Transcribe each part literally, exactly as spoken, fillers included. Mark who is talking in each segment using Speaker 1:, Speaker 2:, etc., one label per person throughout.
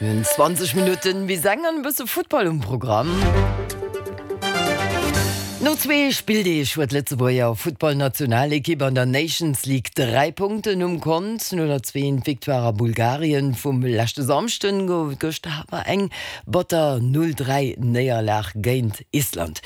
Speaker 1: Mir hunn zwanzeg Minutten bis eng an e bësse Futtball um Programm. No zwee Spilldeeg huet d'Lëtzebuerger Futtballnationalekipp an der Nations League dräi Punkten um Kont. No der zwee Victoire a Bulgarien vum leschte Samschden gouf et gëschter awer eng batter null dräi Néierlag géint Island.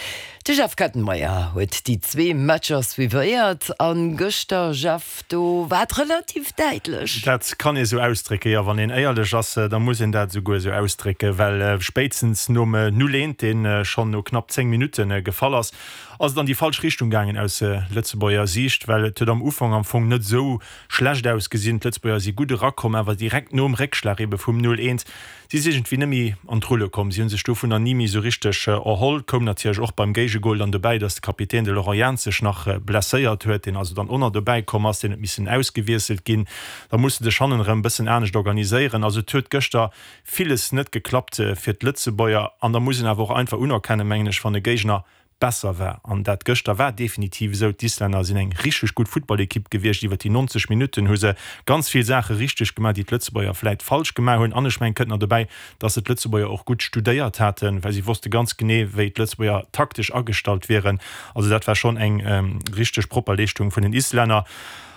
Speaker 1: De Jeff Kettenmeyer huet déi zwee Matcher suivéiert an gëschter, Jeff, do war et relativ däitlech.
Speaker 2: Dat kann ee sou ausdrécken, jo. Wann een éierlech ass, da muss een dat esouguer esou ausdrécken, well spéitstens nom null eent, dee schonn no knapp zéng Minutte gefall ass, ass et an déi falsch Richtung gaangen aus Lëtzebuerger Siicht, well et huet am Ufank am Fong net esou schlecht ausgesinn. D'Lëtzebuerger si gutt erakomm, awer direkt nom Réckschlag ebe vum null eent Si si iergendwéi net méi an d'Rulle komm. Si hu sech dovunner ni méi esou richteg erholl. Koum natierlech och beim Géigegol dann dobäi, datt de Kapitän, de Laurent Jans, sech nach blesséiert huet, deen also dann och nach dobäi komm ass, deen huet missen ausgewiesselt ginn. Da muss de dech hannen erëm e bëssen anescht organiséieren. Also et huet gëschter villes net geklappt fir d'Lëtzebuerger. An da muss een awer och einfach unerkennen, mengen ech, wann e Géigner besser war. An dat gëschter war definitiv esou. D'Islänner sinn eng richteg gutt Futtballekipp gewiescht. Iwwer déi neunzeg Minutten hu se ganz vill Saache richteg gemaach, déi d'Lëtzebuerger vläit falsch gemaach hunn. An ech mengen, kënnt nach dobäi, datt se d'Lëtzebuerger och gutt studéiert haten, well si wosste ganz genee, wéi d'Lëtzebuerger taktesch agestallt wieren. Also dat war schonn eng richteg propper Leeschtung vun den Islänner.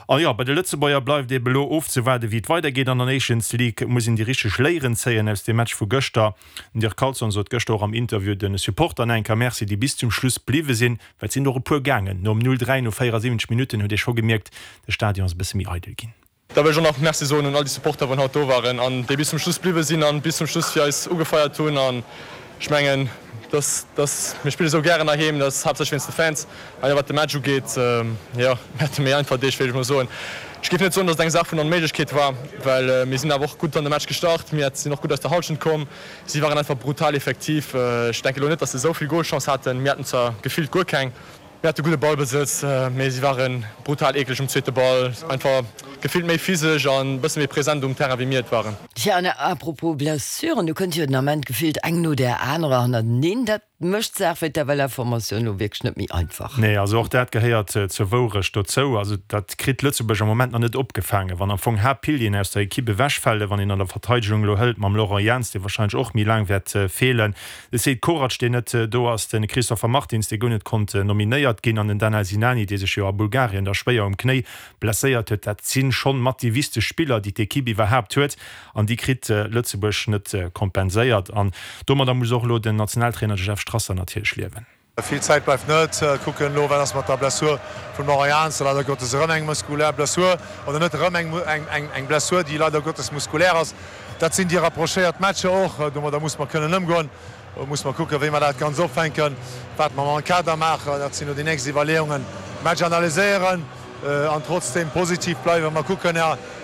Speaker 2: A jo, bei de Lëtzebuerger bleift eebe elo ofzewaarden, wéi et weidergeet an der Nations League. Et muss een déi richteg Léieren zéien aus deem Match vu gëschter. Den Dirk Carlson sot gëschter och am Interview de Supportern eng Kéier Merci, déi bis zum Schluss bliwwe sinn, well et sinn och e puer gaangen. Nom null dräi no véierasiwwenzeg Minutten huet ee scho gemierkt, de Stadion ass e bësse méi eidel ginn.
Speaker 3: Da wëll ech och nach Merci soen un all déi Supporter wou haut do waren an déi bis zum Schluss bliwwe sinn an bis zum Schluss fir eis ugefeiert hunn. An ech mengen, dass, dass mir spille sou gären heiheem, dat ass haaptsächlech wéinst de Fans. A jo, wat de Match ugeet, jo, mir hate méi einfach Deeg, wéilt ech mol soen. Ech géif net soen, dass et eng Saach vun Onméiglechkeet war, well mir sinn awer och gutt an de Match gestart, mir sinn och gutt aus der Hallschent komm. Si waren einfach brutal effektiv. Ech denke elo net, dass se esou vill Golchance haten, mir haten zwar gefillt guer keng. Mir hate gudde Ballbesëtz, mee si ware brutal eekleg um zweete Ball. Einfach gefillt méi physesch an e bësse méi present um Terrain, wéi mir et waren.
Speaker 1: Tja, an à propos Blessuren, do kënnt jo den Ament gefillt eng no där anerer hannerteneen. Dat mécht d'Saach fir d'FLF-Formatioun elo wierklech net méi einfach.
Speaker 2: Nee, also och dat gehéiert zur Wourecht dozou. Also dat kritt Lëtzebuerg am Moment nach net opgefaangen, wann am Fong Haaptpilieren aus der Ekipp ewechfalen, wann een an der Verteidegung elo hëlt mam Laurent Jans, dee warscheinlech och méi laang wäert feelen, De Sead Korac, deen net do ass, de Christopher Martins, dee guer net konnt nominéiert ginn, an den Danel Sinani, dee sech jo a Bulgarien da schwéier um Knéi blesséiert huet, dat si schonn mat déi wichteg Spiller, déi d'Ekipp iwwerhaapt huet, an déi kritt Lëtzebuerg net kompenséiert. An domadder muss och elo den Nationaltrainer, de Jeff Strasser, natierlech liewen.
Speaker 4: Vill Zäit bleift net. Kucken elo, wat ass mat der Blessur vum Laurent Jans, leider Gottes erëm eng muskulär Blessur, oder net erëm eng Blessur, déi leider Gottes muskulär ass. Dat sinn déi rapprochéiert Matcher och. Domadder muss mer kënnen ëmgoen. Do muss mer kucken, wéi mer dat Ganzt opfänken, wat mer mam Kader maachen. Dat sinn elo déi nächst Iwwerleeungen. Match analyséieren an trotzdeem positiv bleiwen. Mer kucken,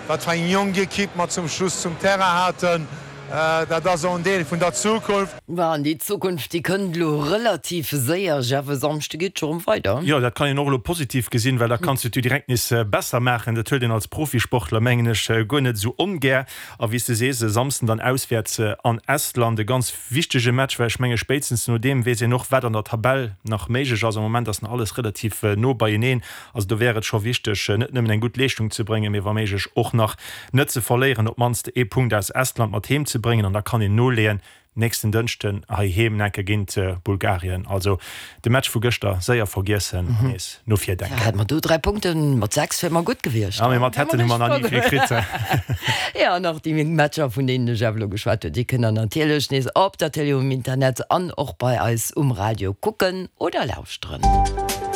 Speaker 4: wat fir eng jonk Ekipp mer zum Schluss zum Terrain haten. Dat ass och en Deel vun der Zukunft.
Speaker 1: An déi Zukunft, déi kënnt elo relativ séier. Jeff, e Samschde geet et scho rëm weider.
Speaker 2: Jo, dat kann een och elo positiv gesinn, well da kanns du et jo direkt nees besser maachen. Dat huet een als Profisportler, mengen ech, guer net esou ongär. A wéi s de sees, e Samsden dann auswäerts an Estland, e ganz wichtege Match, well ech menge spéitstens no deem weess een och, wat an der Tabell nach méiglech ass. Am Moment ass nach alles relativ no beieneen. Also do wär et scho wichteg, net nëmmen eng gutt Leeschtung ze bréngen, mee wa méiglech och nach net ze verléieren, op d'mannst ee Punkt aus Estland mat heem ze bréngen. An da kann een noleeën nächsten Dënschden heiheem enke géint Bulgarien. Also de Match vu gëschter séier vergiessen an nees no vir denken.
Speaker 1: Hätte mer do dräi Punkten, mat sechs wier mer gutt gewiescht.
Speaker 2: Jo, mee mat hätten hu mer nach ni vill kritt.
Speaker 1: Jo, an och déi Matcher, vun deenen de Jeff elo geschwat huet, déi kënnt der natierlech nees op der Télé, um Internet an och bei eis um Radio kucken oder lauschteren.